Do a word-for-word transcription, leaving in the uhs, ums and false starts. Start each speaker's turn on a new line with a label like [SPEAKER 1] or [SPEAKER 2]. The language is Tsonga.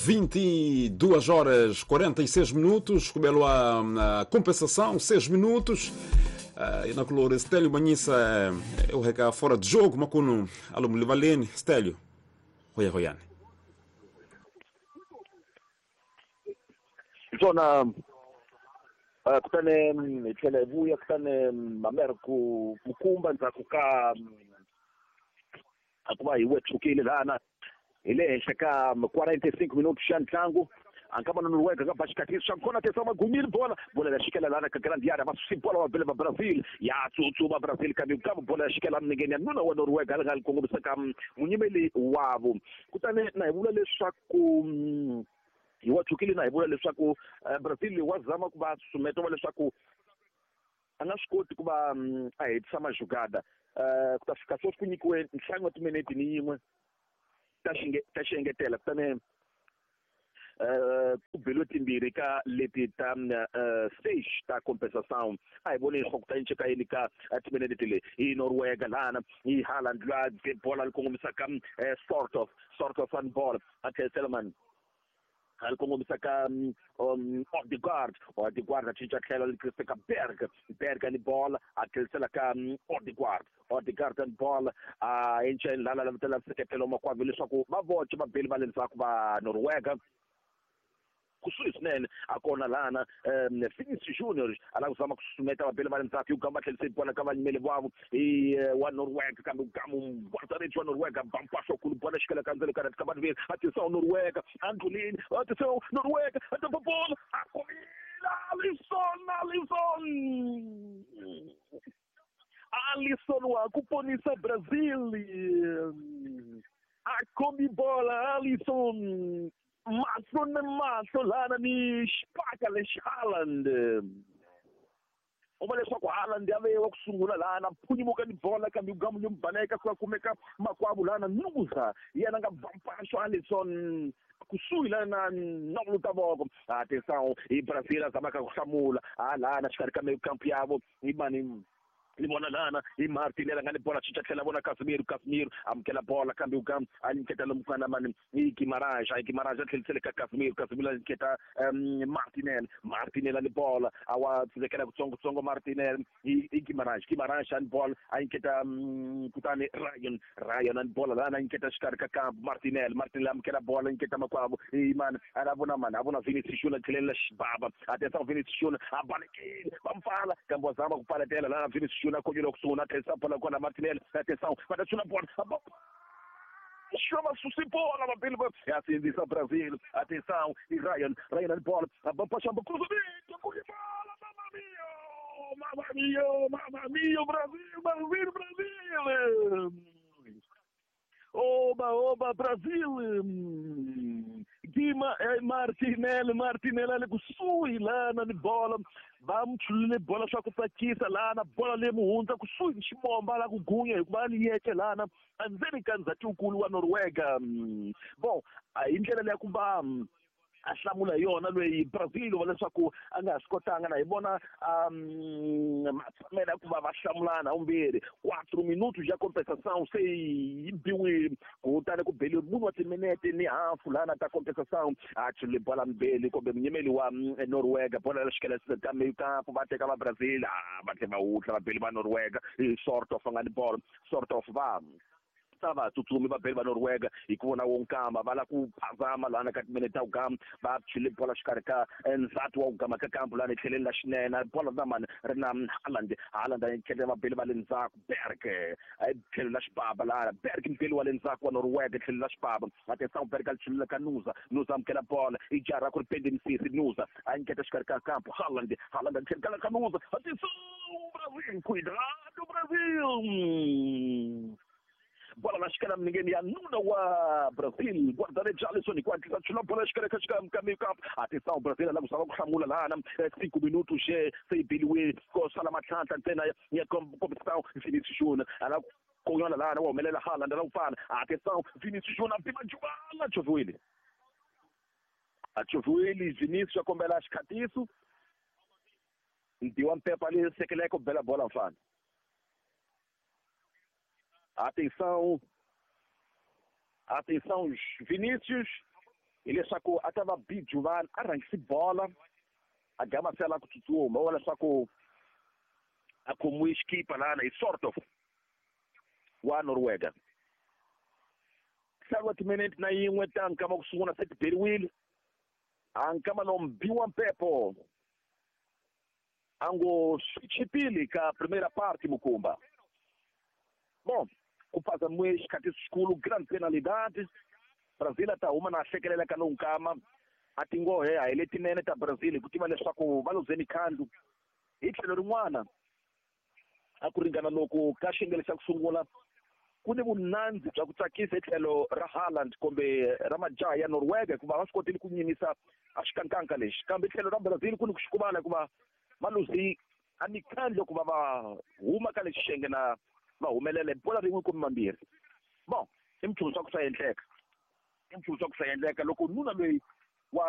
[SPEAKER 1] vinte e duas horas quarenta e seis minutos, kubelo a compensação, seis minutos. Uh, e na color Stélio Manhissa é o reca fora de jogo, macuno aluno Livalene, Stélio, Roya Royane.
[SPEAKER 2] Zona uh, kutane tlhela hi vuya kutane mamere ku mukumba ndzhaku ka ku va hi wetshukile lana hi le henhla ka quarenta e cinco minutos xa ntlangu ankama Noruega ka baxikatisi xa kona tesa magumile bola bola ya xikela lana ka grande área va susi bola va bele va Brazil ya tsutsuma Brazil kambe kambe bola ya xikela minengeni ya nuna wa Noruega a nga li kongomisa ka munyimeli wavo kutani na hi vula leswaku hi wa tshukile na hi vula leswaku Brazil wa zama ku va susumeta va leswaku a nga swi koti ku va a hetisa majugada ku ta fika sweswi ku nyikiwe ntlhanu wa timinete ni yin'we ta xinge ta xiengetela kutani ku beliwe timbirhi ka leti ta seis ta compensação a hi voni leswaku ta cinca yini ka timinete leyi hi Noruega lana hi Haaland la bola li kongomisa ka sort of sort of an ball a tlherisela mani a li kongomisa ka um Odegaard Odegaard a cinca tlhelo li tlherisa ka Berg Berg ni bola a tlherisela ka Odegaard Odegaard ni bola a enceni lana la vitela nseketelo makwavo leswaku va voce va beli va le ndzhaku va Noruega kusuhi swinene a kona lana um Vinicius Junior a lava ku zama ku susumeta vabeli va le ndzhaku hi ku gamba tlherise bola ka vanyimeli vavo hi wa Noruega kambe gamu guarda-redes wa Noruega bampasho kulu bola xikela ka ndzelo ka ka vanhu atenção Noruega andlulini atenção Noruega atenção bola a comida Alisson Alisson Alisson wa ku ponisa Brazil a comi bola Alisson mahlo na mahlo lana ni xipaka lexi Haaland u va leswaku Haaland ya ve wa ku sungula lana phunyimuka ni bola kambe gamu yo baleka ku kumeka makwavo lana Nusa yena nga bampaxo Alisson kusuhi lana na vuluta voko atenção hi Brazil a zamaka ku hlamula a lana xikarhi ka kampu yavo hi mani ni vona lana hi Martinelli a nga ni bola cinca tlhela vona Casemiro Casemiro amukela bola kambe u kam a nyiketa lomufana mani hi Guimarães a Guimarães a tlhelisele ka Casemiro Casemiro a nyiketa um Martinelli Martinelli a ni bola a wa tsekela kutsongotsongo Martinelli hi Guimarães Guimarães a ni bola a nyiketa um, kutani Ryan Ryan a ni bola lana a nyiketa xikarhi ka kampu Martinelli Martinelli amukela bola a nyiketa makwavo hi mani a la vona mani a vona Vinicius Junior tlhelela xibaba atenção Vinicius Junior a balekile va mpfala kambe wa zama ku paletela lana Vinicius Junior konyula kusungula tlherisa bola kona Martinelli atenção va ta chula bola chama susi bola vabili va ya sindzisa Brazil atenção i Ryan Ryan ni bola a chamba cruzamento bola mamma mia mamma mia mamma mia Brasil Brasil Brasil oba oba Brasil Guima é Martinelli Martinelli ali kusuhi lana ni bola va mchulile bola swa ku tsakisa lana bola leyi muhundza kusuhi ni xibomba la ku gunya hikuva ni yece lana endzeni ka ndzhati-nkulu wa Noruega bon a hi ndlela leya ku va a hlamula hi yona loyi Brazil va leswaku a nga ha swi kotanga na hi vona um matshamelo ya ku va va hlamulana vumbirhi quatro minutos ya compensação se yi biwile kutani ku beliwe munhu wa timinete ni hafu lana ta compensação a chule bola mbeli kumbe munyimeli wa Noruega bola la xikela ka meio campo va teka va Brazil a va tlhe va wutla vabeli va Noruega hi sort of nga ni bola sort of va va tsutsumi va beli va Noruega hi ku vona wonkamba va la ku phazama lana ka timinete ta ugama va chule bola xikarhi ka ndzhati wa ugama ka kampu lana etlheleni la xinene bola na mani ri na Haaland Haaland a nyiketa vabeli va le ndzhaku Berg tlhelo la xibaba lana Berg mbeli wa le ndzhaku wa Noruega tlhelo la xibaba atenção Berg a chulula ka Nusa Nusa amukela bola i jara ku ri pende misisi Nusa a nyiketa xikarhi ka kampu Haaland Haaland a tlhelo ka Nusa atenção Brasil cuidado Brasil bola na xikela minengeni ya nuna wa Brazil guarda-redes Alisson ku hatlisa chula bola xikarhi ka xikarhi ka meio campo atenção Brazil a lava ku hlamula lana cinco minutos se yi beliwile ko sala matlhantlha ntsena ya competição Vinicius Junior a lava konyana lana wa humelela Haaland la ku pfala atenção Vinicius Junior pima juvala choviwile a choviwile Vinicius a kombela xikhatiso Ndiwa Mpepa ali sekeleka ku bela bola mfana. Atenção, atenção, Vinícius. Hileswaku a ta va Bijuvan a rhangisi bola a gama se a lava ku tsutsuma wa leswaku a khomiwe xikipa lana hi sort of wa Norwega. Ntlhanu wa timinete na yin'we ta nkama ku sungula se ti beriwile a nkama lowu mbiwa mpepo a ngo swi chipile ka primera parte mukumba. Bom, ku phazamiwe xikhathi xikulu grande penalidade. Brazil a ta huma na hlekelela ka lowu nkama a tinghohe a hi letinene ta Brazil hi ku tiva leswaku va luzeni khandlu. Hi tlhelo rin'wana a ku ringana loko ka xiyenge xa ku sungula ku ni vunandzi bya ku tsakisa hi tlhelo ra Haaland kumbe ra majaha ya Norwega hikuva va swi kotile ku nyimisa a xikankanka lexi, kambe tlhelo ra Brazil ku ni ku xikuvala hikuva va luzi a mikhandlo ku va va huma ka lexi xiyenge na va humelela bola rin'we kumbe mambirhi. Bon, i minchumu swa ku swa endleka, i minchumu swa ku swa endleka loko nuna loyi wa